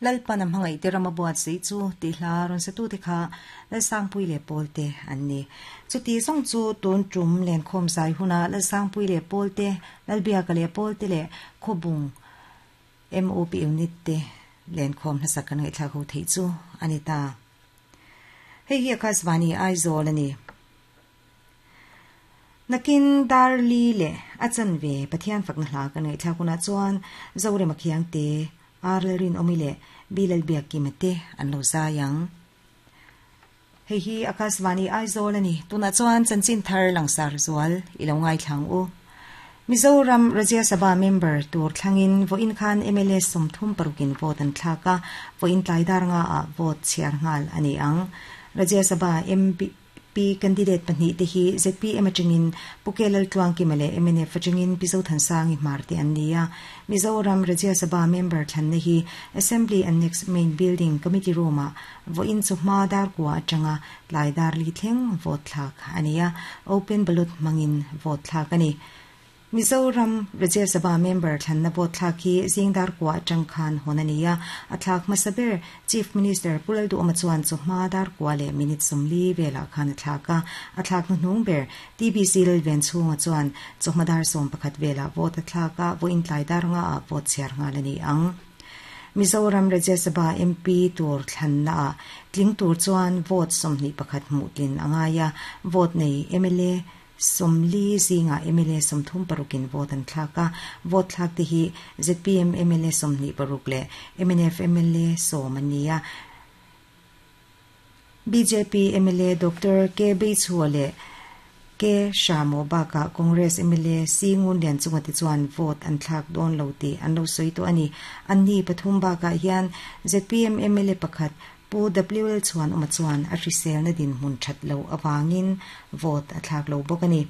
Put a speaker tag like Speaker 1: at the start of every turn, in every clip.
Speaker 1: Lalpan a hmangaihte ram a buatsaih chu tih hla rawn satute kha Lalsangpui leh Pawlte an ni. Chuti zawng chu tun tum lenkhawm zai huna Lalsangpui leh Pawlte, Lalbiaka leh Pawlte leh Khawbung MOP unit te lenkhawm hmasak kan ngaihthlak ho theih chu a ni ta. Hei hi Akashvani Aizawl a ni. Nakin dar li leh a chanve Pathian fakna hla kan ngaihthlak hunah chuan Zorema Khiangte, Ar Lalrinawmi leh Bi Lalbiakkima te an lo zai ang. Hei hi Akashvani Aizawl a ni. Tunah chuan chanchin thar langsar zual i lo ngaithla ang u. Mizoram Rajya Sabha member tur thlangin vawiin khan mla 36 in vote an thlak a, vawiin tlai dar nga ah vote chhiar nghal a ni ang. Rajya Sabha MP candidate pahnihte hi zpm atangin Pu K Laltluangkima leh mnf atangin Pi Zothansangi Hmar te an ni a. Mizoram Rajya Sabha member thlanna hi Assembly Annex Main Building Committee Room-ah vawiin chawhma dar kua atanga tlai dar li thleng vote thlak a ni a, open ballot hmangin vote thlak a ni. Mizoram Rajya Sabha member thlanna vote thlak hi zing dar kua atang khan hawn a ni a, a thlak hmasa ber Chief Minister Pu Lalduhawma chuan chawhma dar kua leh minute 40 velah khan a thlak a, a thlak hnuhnung ber TBC Lalven chhunga chuan chawhma dar 11 velah vote a thlak a, vawiin tlai dar nga ah vote chhiar nghal a ni ang. Mizoram Rajya Sabha MP tur thlanna ah tling tur chuan vote 21 hmuh tlin a ngai a, vote nei mla 40 zingah mla 36 in vote an thlak a, vote thlak te hi zpm mla 26 leh mnf mla 10 an ni a. Bjp mla Doctor K Beichhua leh K Shamo bakah Congress mla C Ngunlian chunga te chuan vote an thlak dawn lo tih an lo sawi tawh a ni. An ni pathum bakah hian zpm mla pakhat Pu WL Chhuan awma chuan a hriselna dinhmun that lo awangin vote a thlak lo bawk a ni.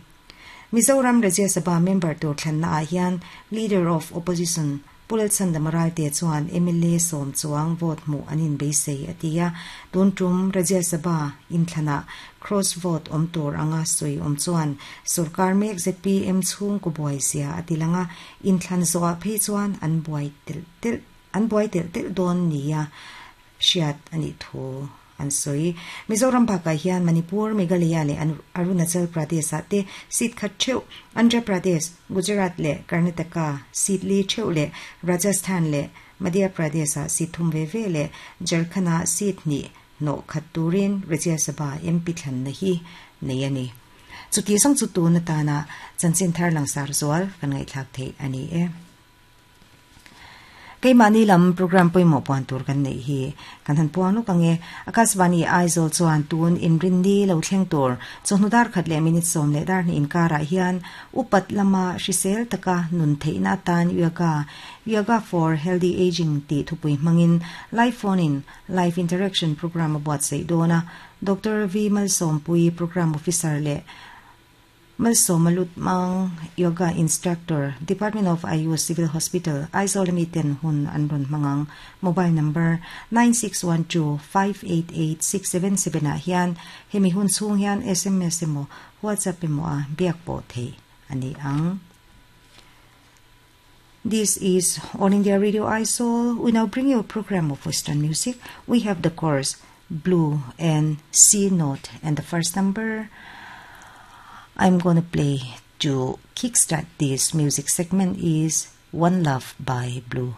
Speaker 1: Mizoram Rajya Sabha member tur thlanna ah hian Leader of Opposition Pu Lalchhandama Ralte chuan mla 10 chuang vote hmuh an inbeisei a ti a, tun tum Rajya Sabha inthlanah cross vote awm tur anga sawi awm chuan sorkar mek zpm chhung ku buai zia a ti lang a, inthlan zawhah phei chuan an buai telh telh an buai telh telh dawn nia hriat a nih thu an sawi. Mizoram bakah hian Manipur, Meghalaya leh Arunachal Pradesh ah te seat khat theuh, Andhra Pradesh, Gujarat leh Karnataka seat li theuh leh Rajasthan leh Madhya Pradesh ah seat thum ve ve leh Jharkhand ah seat hnih hnawh khat turin Rajya Sabha MP thlanna hi nei a ni. Chuti zawng chu tun atana chanchin thar langsar zual kan ngaihthlak theih a ni e. Keimahni lam program pawimawh puan tur kan neih hi kan han puang lawk ang e. Akashvani Aizawl chuan tun inrinni lo thleng tur chawhnu dar khat leh minute 10 leh dar hnih inkarah hian upat lama hrisel taka nun theihna atan yoga, Yoga for Healthy Aging tih thupui hmangin live phone in live interaction program a buatsaih dawn a. Doctor V Malsawmpui Program Officer leh Malsawma Lutmang, Yoga Instructor, Department of Ayush Civil Hospital, Aizawl ami ten hun an rawn hmang ang. Mobile number 9612588677 ah hian hemi hun chhung hian sms emaw WhatsApp emaw a biak pawh theih a ni ang. This is All India Radio Aizawl. We now bring you a program of Western music. We have the chorus Blue and C note, and the first number I'm gonna play to kickstart this music segment is One Love by Blue.